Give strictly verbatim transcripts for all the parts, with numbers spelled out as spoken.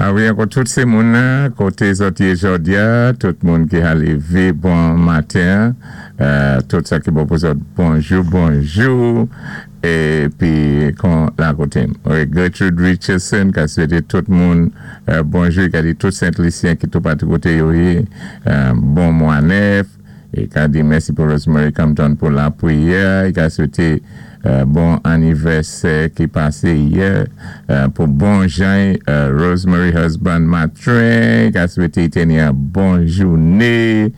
Ah wi, ankò tout sé moun koté zòt yé jòdi-a, tout moun ki ka lévé bon maten, euh, tout sa ki bon pou zòt, bonjou, bonjou, épi kon la koté. Wi, Gertrude Richardson, ka swété tout moun, euh, bonjou, ka di tout Sent-Lisyen ki toupatou koté yo yé, euh, bon mwa nèf, é ka di mèsi pou Rosemary Compton pou lapriyè, i ka swété euh, bon anivèsè ki pasé yè, euh, pou bon Jean, euh, Rosemary husband Matrin, ka swété tni yon bon jouné,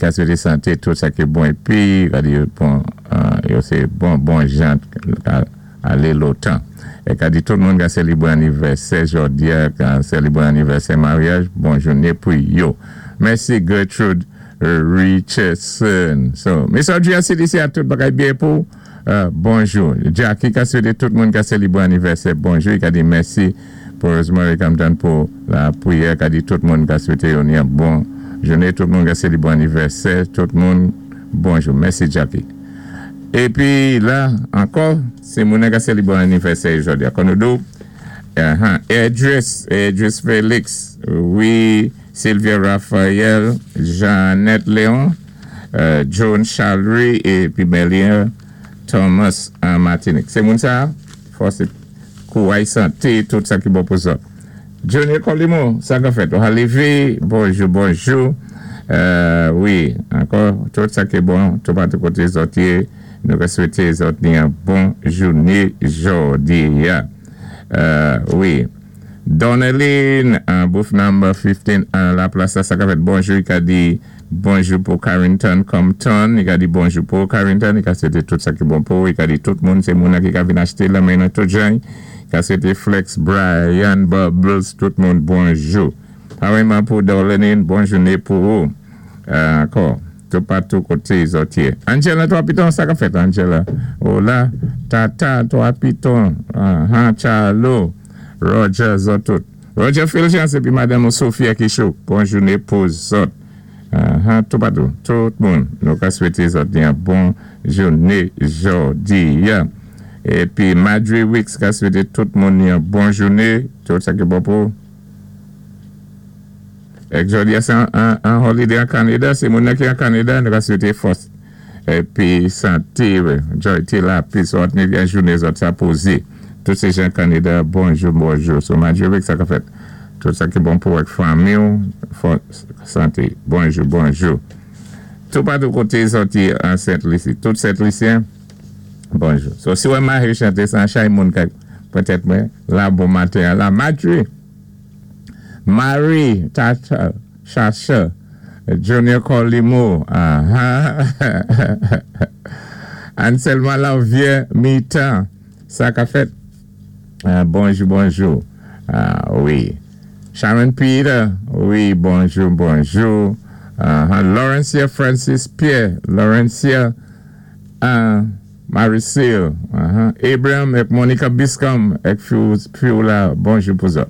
ka swété santé tout sa ki bon épi, ka di bon, euh, sé bon, bon Jean, ka alé lontan. É ka di tout moun ka sélibré anivèsè jòdi-a, ka sélibré anivèsè maryaj, bon jouné pou yo. Mèsi Gertrude Richardson. So, Miss Audrey C D C a tout bagay byen pou euh, bonjou. Jackie ka swété tout moun ka sélibré anivèsè bonjou, i ka di mèsi pou Rosemary Compton pou lapriyè, ka di tout moun ka swété yon yon bon jouné, tout moun ka sélibré anivèsè, tout moun bonjou. Mèsi Jackie. Épi la, ankò, sé moun ka sélibré anivèsè jòdi-a. Kon nou do, uh-huh, Edris, Edris Félix, wi, Sylvia Raphael, Jeannette Léon, euh, Joan Chalry épi Melia Thomas an Martinique. Sé moun sa, fòs kouway santé, tout sa ki bon pou sa. Johnny Colimo, sa ka fèt. Ou lévé, bonjou, bonjou. Euh, wi, ankò, tout sa ki bon, toupatou koté zòt yé, nou ka swété zòt ni yon bon jouné jòdi-a. Euh, wi. Donneline, uh, booth number fifteen, uh, la plas sa ka fèt, bonjou, i ka di bonjou pou Carrington Compton, i ka di bonjou pou Carrington, i ka swété tout sa ki bon pou, i ka di tout moun, sé moun ki ka vin achté la men tout jan, i ka swété Flex, Brian, Bubbles, tout moun bonjou. Pareillement pou Donneline, bon jouné pou ou. Euh, ankò, toupatou koté zòt yé. Angela, Trois Pitons, sa ka fèt, Angela. Hola, Tata, Trois Pitons, uh, Charlo, Roger, zòt tout. Roger Fulgence épi Madame Sophia Kichou, bon jouné pou zòt. Uh, toupatou, tout moun, nou ka swété zòt yon bon jouné jòdi-a. Épi Madry Wicks ka swété tout moun yon bon jouné, tout sa ki bon pou. Ek jòdi-a sé an holiday an Kanada, sé moun ki an Kanada, nou ka swété fòs. Épi santé, joy té la, pi zòt ni yon jouné zòt sa pozé. Tout sé jan Kanada, bonjou, bonjou. So Madry Wicks sa ka fèt. Tout sa ki bon pou ak fanmi ou, fòs santé. Bonjou, bonjou. Toupatou koté zòt yé an Sent-Lisi. Tout Sent-Lisyen, bonjou. So si wè Marie chanté san chay moun ka petèt mwen, la bon maten, la Madry. Marie, Tata, Chacha, Junior Colimo, ah, Anselma Lanvier, mi-temps, sa ka fèt. Uh, bonjou, bonjou. Ah, wi. Sharon Peter, wi, bonjou, bonjou. Uh, Laurencia Francis Pierre, Laurencia uh, Maricil, uh -huh. Abraham ek Monica Biscom, ek Fiula, bonjou pou zòt.